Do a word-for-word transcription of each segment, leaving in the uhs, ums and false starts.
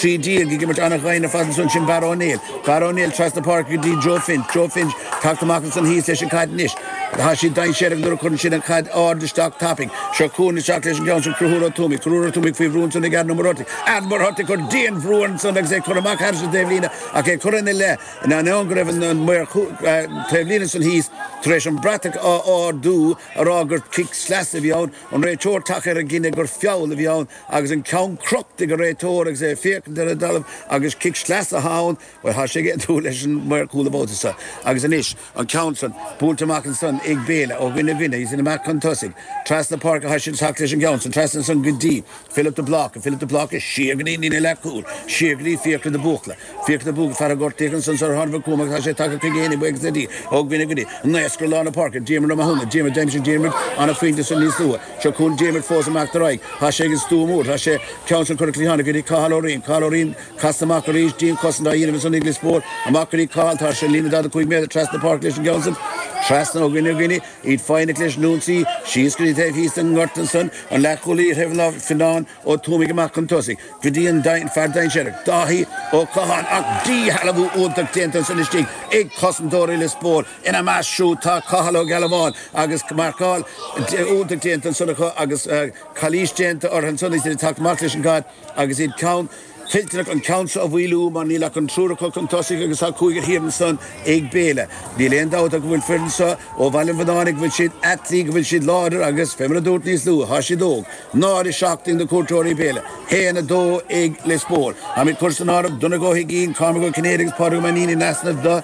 trí déag ag imirt an-ghain ar fad ansan sin Barra Ó Néill. Barra Ó Néill trasna páirce go dtí Joe Finch. Joe Finch tagtha amach ansan thíos leis an caid anois. Tá siad dainséarach nuair a chuireann siad an chaid ard isteach tapaidh. Seo chugainn isteach leis an gceann sin Conchúr Ó Tuama. Conchúr Ó Tuama faoi bhrú ansan ag Aaron Ó Muircheartaigh. Aaron Muircheartaigh cur dian-bhrú ansan agus é cur amach thar an taobhlíne ach é cur ina leith in ainneoin go raibh an maor taobhlíne san thíos tar éis an bratach á ardú a rá gur cic sleasa a bhí ann, an réiteoir tagtha ar an gcinneadh gur feall a bhí ann agus an ceann crochta ag an réiteoir agus é ag féachaint ar an dtalamh agus cic sleasa ann, well tá sé ag aontú leis an maor cúl an babhta seo. Agus anois an ceann san buailte amach ansan ag Béile ó dhuine go duine, iad amach chun tosaigh. Trasna páirce tá siad teacht leis an gceann san, trasna san go dtí Philip de Bláca, Philip de Bláca siar go dtí an líne leathchúil, siar go dtí Fiachra de Búchla, Fiachra de Búchla fear a gortaíodh ansan sular tháinig chugam agus tá sé tagtha chuige féin buíochas le Dia ó dhuine go duine. Naosc ar lár na páirce, Diarmuid Ó Mathúna, Diarmuid d'aimsigh Diarmuid an-phointe san níos luaithe. Seo chugainn Diarmuid fós amach ar aghaidh. Tá sé ag an stua mór, tá sé ceann san curtha cliatháin go dtí Cathal Ó Riain, Cathal Ó Riain casta amach arís, dianchosaint á dhéanamh ansan ag Lios Póil, amach go dtí Cathal, tá sé líne daichead a cúig méadar trasna páirce leis an gceann san, trasna ó dhuine go duine, iad foighneach leis an ionsaí, síos go dtí taobh thíos den ngort ansan, an leathchúlaí ar thaobh an lámh, Fionán Ó Tuamaigh amach chun tosaigh, go dtí an fear dainséarach, Dáithí Ó Catháin, ach díshealbhú iontach déanta ansan istigh ag cosantóirí Lios Póil, ina measc siúd tá Cathal Ó Gealbháin agus marcáil iontach déanta ansan acu agus calaois déanta orthu ansan agus iad ag teacht amach leis an gcaid agus iad ceann toilteanach an ceann seo a mhaolú mar níl ach an triúr acu chun tosaigh agus tá cúigear thiar ansan ag Béile. Níl aon dabht ach go bhfuil foireann seo ó Bhaile an Bhraonáin go bhfuil siad athleach, go bhfuil siad láidir agus, fé mar a dúrt níos luaithe, tá siad óg. Náid a seacht ag na cuairteoirí Béile, haon a dó ag Lios Póil. Táimid curtha san áireamh, Donncha Ó hUiginn, Cormac Ó Cinnéide agus Pádraig Ó Mainnín in easnamh do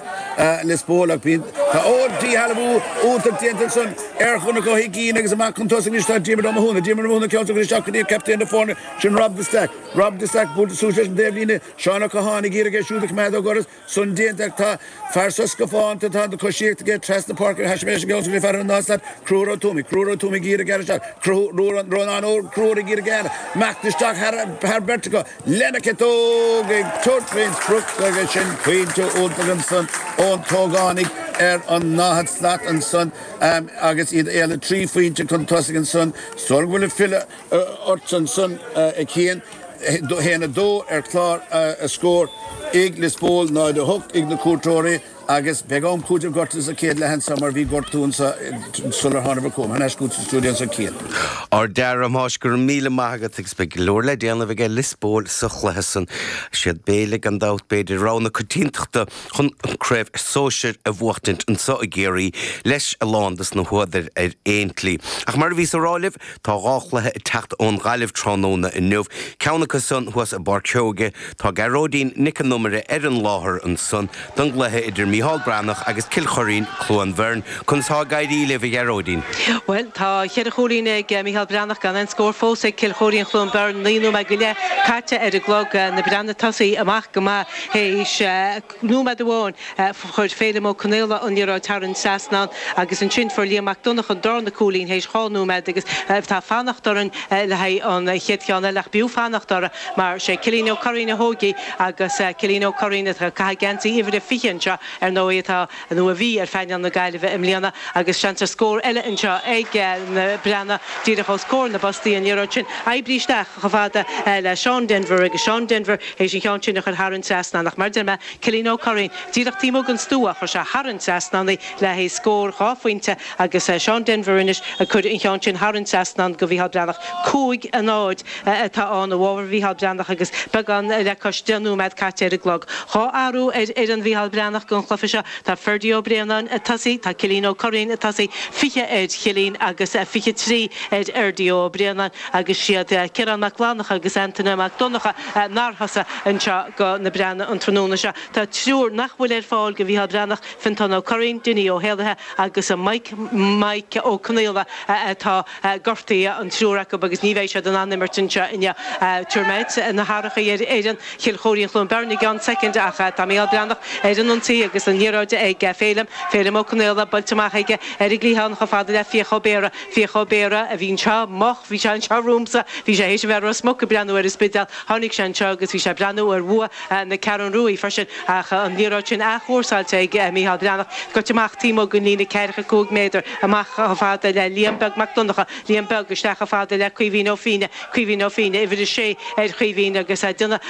Lios Póil ach bíonn, tá, ó, díshealbhú iontach déanta ansan ar Dhonncha Ó hUiginn agus amach chun tosaigh anois tá Diarmuid Ó Mathúna, Diarmuid Ó Mathúna ceann seo isteach go dtí captaen na foirne, sin Rob de Staic. Rob de Staic buailte suas leis an dtaobhlíne, Seán Ó Catháin ag iarraidh é siúd a choimeád ó dhoras, san déanta ach tá fear sa scafánta, tá an choisíocht aige trasna páirce, thaispeáin leis an gceann sin fear an dá slat, Conchúr Ó Tuama, Conchúr Ó Tuama ag iarraidh gearradh isteach, Conchúr, Rónán Ó Conchúir ag iarraidh gearradh, imeacht isteach thar beirt acu, lena chiotóg ag tabhairt faoin sprioc agus sin pointe iontach ansan ón t-ógánaigh ar an ndaichead slat ansan agus iad éalaithe trí phointe chun tosaigh ansan sula bhfuil ag filleadh ort ansan a Chian. haon a dó ar chlár a scór ag Lios Póil, náid a hocht ag na cuairteoirí agus beidh am cúitimh gortaithe sa chéad leath anseo mar bhí gortú anseo sular tháinig chugam. Thar n-ais chugat sa stiúideo anseo Cian. Ard-fhear, a Thomáis, go raibh míle maith agat agus beidh go leor le déanamh aige Lios Póil sa chluiche san. Siad Béile gan dabht b'fhéidir rogha na coitiantachta chun an craobh sóisir a bhuachtaint anseo i gCiarraí leis a lán dos na húdair ar aon tslí. Ach mar a bhíos a rá libh, tá dhá chluiche ag teacht ón Ghaillimh tráthnóna inniu, ceann acu san thuas i bPáirc Seoighe. Tá Gearóidín Nic an Iomaire ar an láthair ansan don gcluiche idir Micheál Breathnach agus Cill Choirín, Cluain Bheirn. Conas tá ag éirí libh, a Ghearóidín? Bhuel, tá cheithre chúilín ag Micheál Breathnach gan aon scór fós ag Cill Choirín Chluain Bheirn. Naoi nóiméad go leith caite ar an gclog. Na Breathnaigh tosaithe amach go maith théis nóiméad amháin. Chuir Féilim Ó Conaola an liathróid thar an trasnán agus ansin fuair Liam Mac Donncha an darna cúilín théis dhá nóiméad agus tá fanacht orainn le haghaidh an chéad cheann eile ach b'fhiú fanacht orthu mar sé Cillian Ó Curraoin a thóg í agus Cillian Ó Curraoin atá ag caitheamh geansaí uimhir a fiche anseo ar ndóigh atá nó a bhí ar phainéal na Gaillimhe i mbliana agus seans ar scór eile anseo ag na Breathnaigh díreach os comhair na bpostaí an liathróid sin oibrithe isteach chomh fada le Seán Denvir agus Seán Denvir théis an cheann sin a chur thar an trasnán ach mar a deir mé Cillian Ó Curraoin díreach taobh amuigh den stua chuir sé thar an trasnán í le haghaidh scór dhá phointe agus Seán Denvir anois ag cur an cheann sin thar an trasnán do Mhícheál Breathnach. Cúig a náid atá ann i bhfabhar Mhícheál Breathnach agus beagán le cois deich nóiméad caite ar an gclog. Dhá athrú ar fhoireann Mhícheál Breathnach don chluiche seo. Tá Ferdie Ó Braonáin ag tosaí, tá Cillian Ó Curraoin ag tosaí, fiche ar Chillian agus fiche trí ar Fherdie Ó Braonáin agus siad Ciarán Mac Fhlannchadha agus Antaine Mac Donncha nár thosaigh anseo do na Breathnaigh an tráthnóna seo. Tá triúr nach bhfuil ar fáil do Mhícheál Breathnach, Fiontán Ó Curraoin, Dinny Ó hÉallaithe agus Mike Mike Ó Conaola atá gortaithe, an triúr acu, agus ní bheidh siad in ann imirt anseo inniu. Tabharfaidh mé na hathruithe ar fhoireann Chill Choirín Chluain Bheirn i gceann soicind ach tá Mícheál Breathnach ar an ionsaí agus an liathróid ag Féilim, Féilim Ó Conaola, buailte amach aige ar an gcliathán chomh fada le Fiach Ó Béarra. Fiach Ó Béarra a bhí anseo moch, bhí sé anseo romhamsa, bhí sé théis a bheith i Ros Muc ag breathnú ar an Spidéal, tháinig sé anseo agus bhí sé ag breathnú ar bhua na Ceathrún Ruaidh freisin ach an liathróid sin athchúrsáilte ag Mícheál Breathnach, goite amach taobh amuigh den líne ceathracha cúig méadar amach chomh fada le Liam Beag Mac Donncha, Liam Beag isteach chomh fada le Caoimhín Ó Fiaine, Caoimhín Ó Fiaine, uimhir a sé ar Chaoimhín agus déanamh.